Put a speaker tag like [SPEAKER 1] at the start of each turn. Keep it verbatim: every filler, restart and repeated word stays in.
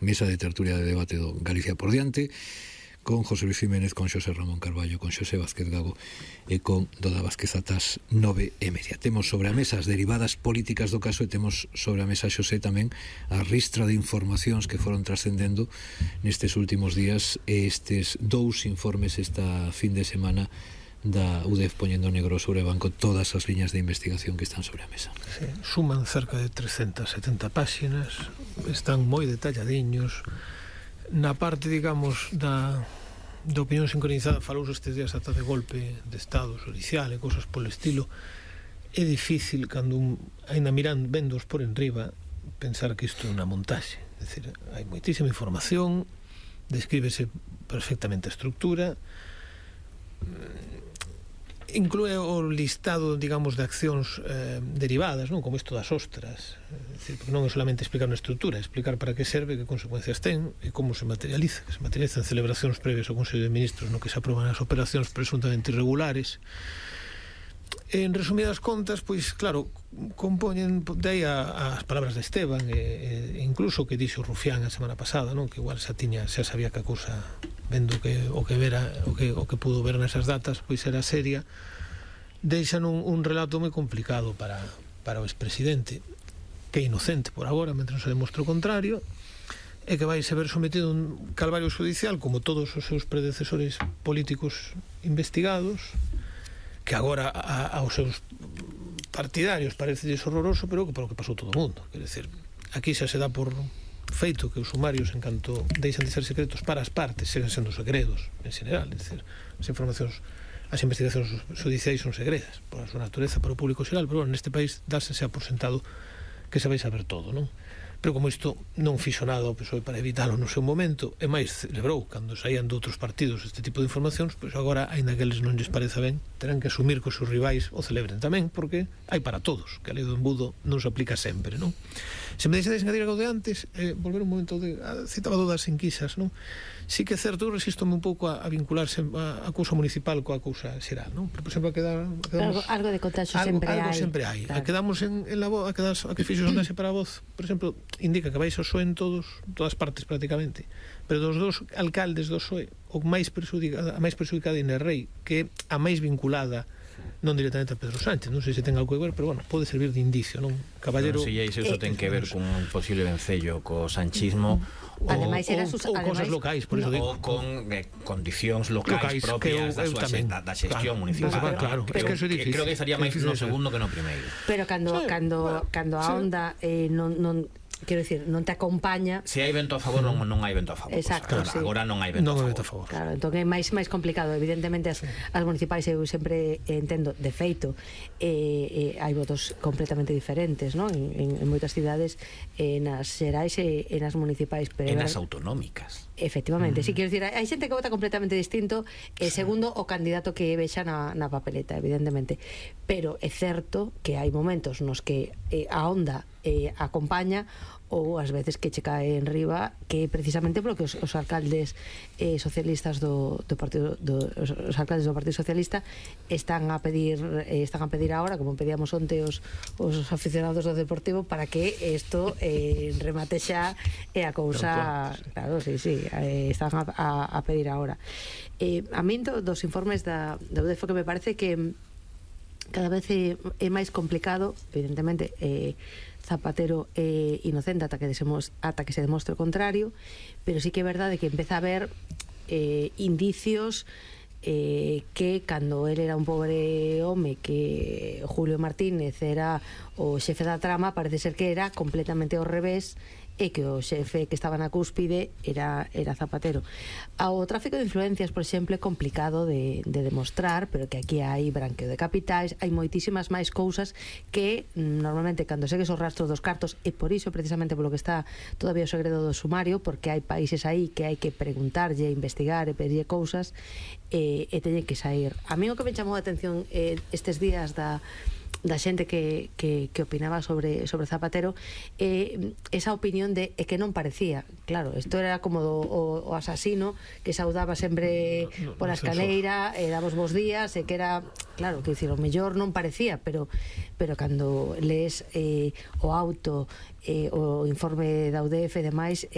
[SPEAKER 1] mesa de tertulia de debate do Galicia por diante, con José Luis Jiménez, con Xosé Ramón Carballo, con Xosé Vázquez Gago e con Doda Vázquez atas nove e media. Temos sobre a mesa as derivadas políticas do caso e temos sobre a mesa, Xosé, tamén a ristra de informacións que foron trascendendo nestes últimos días e estes dous informes esta fin de semana da U D E F poñendo negro sobre o banco todas as liñas de investigación que están sobre a mesa.
[SPEAKER 2] Sí, suman cerca de trescentas setenta páxinas, están moi detalladiños. Na parte, digamos, da, da opinión sincronizada falouse estes días ata de golpe de estado judicial e cousas polo estilo. É difícil, cando un, ainda mirando, vendos por enriba, pensar que isto é unha montaxe. É dicir, hai moitísima información, descríbese perfectamente a estructura, inclúe o listado, digamos, de accións eh, derivadas, non? Como isto das ostras, é dicir, porque non é solamente explicar unha estrutura, é explicar para que serve, que consecuencias ten e como se materializa, que se materializan celebracións previas ao Consello de Ministros no que se aproban as operacións presuntamente irregulares. En resumidas contas, pois claro, compoñen de aí as palabras de Esteban e, e incluso o que dixo Rufián a semana pasada, non? Que igual xa tiña, xa sabía que a cousa, vendo que o que vera, o que o que pudo ver nesas datas, pois era seria. Deixan un, un relato moi complicado para para o expresidente, que é inocente por agora, mentre non se demostre o contrario, e que vai se ver sometido a un calvario judicial como todos os seus predecesores políticos investigados, que agora a, aos seus partidarios parece horroroso, pero que para o que pasou todo o mundo. Quer dizer, aquí xa se dá por feito que os sumarios, en canto deixan de ser secretos para as partes, seguen sendo segredos en general. É dicir, as informacións, as investigacións judiciais son segredas por a súa natureza para o público xeral, pero bueno, neste país dáse xa por sentado que se vai saber todo, non? Pero como isto non fixo nada ao P S O E para evitalo no seu momento, e máis celebrou cando saían de outros partidos este tipo de informacións, pois agora, aínda que eles non lles pareza ben, terán que asumir que os seus rivais o celebren tamén, porque hai para todos, que a lei do embudo non se aplica sempre, non? Se me deixades engadir algo de antes, eh, volver un momento de a, citaba do das enquisas, non? Sí que é certo, eu resistome un pouco a, a vincularse a, a cousa municipal coa cousa xeral, non? Pero, por exemplo, a quedar, a quedamos,
[SPEAKER 3] algo, algo de contagio sempre hai, hai.
[SPEAKER 2] sempre hai.
[SPEAKER 3] Claro.
[SPEAKER 2] A quedamos en, en la voz, a, quedas, a que fixo sondaxe para a voz, por exemplo, indica que vais ao P S O E en todos, todas partes prácticamente, pero dos dos alcaldes do P S O E, o máis perxudicada, a máis perxudicada é Inés Rei, que é a máis vinculada non directamente a Pedro Sánchez, non sei se ten algo que ver, pero bueno, pode servir de indicio, non? Caballero,
[SPEAKER 4] non sei se iso ten que ver con un posible vencello co sanchismo,
[SPEAKER 3] ademais era
[SPEAKER 2] ou, ou cosas locais, por iso digo,
[SPEAKER 4] ou con eh, condicións locais, locais propias da, súa, da, da xestión claro, municipal,
[SPEAKER 2] claro, claro,
[SPEAKER 4] creo,
[SPEAKER 2] es que, que,
[SPEAKER 4] que creo que estaría máis no segundo que no primeiro,
[SPEAKER 3] pero cando, sí, cando, bueno, cando a onda eh, non, non quero dicir, non te acompaña.
[SPEAKER 4] Se hai vento a favor, non, non hai vento a favor.
[SPEAKER 3] Exacto,
[SPEAKER 4] pues,
[SPEAKER 3] sí.
[SPEAKER 4] Agora non hai vento,
[SPEAKER 2] non
[SPEAKER 4] a,
[SPEAKER 2] vento
[SPEAKER 4] favor.
[SPEAKER 2] a favor.
[SPEAKER 3] Claro, entón é máis máis complicado. Evidentemente as, sí. as municipais eu sempre entendo, de feito, eh, eh, hai votos completamente diferentes, non? En, en, en moitas cidades, eh, nas xerais e eh, nas municipais, pero
[SPEAKER 4] en as autonómicas.
[SPEAKER 3] Efectivamente, mm. sí, quero dicir, hai xente que vota completamente distinto, e eh, segundo o candidato que vexa na, na papeleta, evidentemente. Pero é certo que hai momentos nos que eh, a onda eh, acompaña, ou ás veces que che cae en riba, que precisamente porque os, os alcaldes eh, socialistas do, do partido do, os, os alcaldes do Partido Socialista están a pedir eh, están a pedir agora, como pedíamos onte os, os aficionados do Deportivo, para que isto eh, remate xa e a cousa, claro, sí, sí, eh, están a, a, a pedir agora. Eh, a min do, dos informes da, da U D E F que me parece que cada vez é, é máis complicado, evidentemente, eh, Zapatero é inocente ata que, desemos, ata que se demostre o contrario, pero sí que é verdade que empeza a haber eh, indicios eh, que cando ele era un pobre home, que Julio Martínez era o xefe da trama, parece ser que era completamente ao revés, e que o xefe que estaba na cúspide era, era Zapatero. O tráfico de influencias, por exemplo, é complicado de, de demostrar, pero que aquí hai branqueo de capitais, hai moitísimas máis cousas que normalmente cando segues o rastro dos cartos, e por iso precisamente polo que está todavía o segredo do sumario, porque hai países aí que hai que preguntarlle, investigar e pedirlle cousas, e, e teñen que sair. A mí o que me chamou a atención eh, estes días da da xente que, que, que opinaba sobre, sobre Zapatero, eh, esa opinión de é que non parecía, claro, isto era como do, o, o asasino que saudaba sempre no, no, pola escaleira e daba os bons días, e que era, claro, que dicir, o mellor non parecía, pero pero cando lees eh, o auto, eh, o informe da U D E F e demais,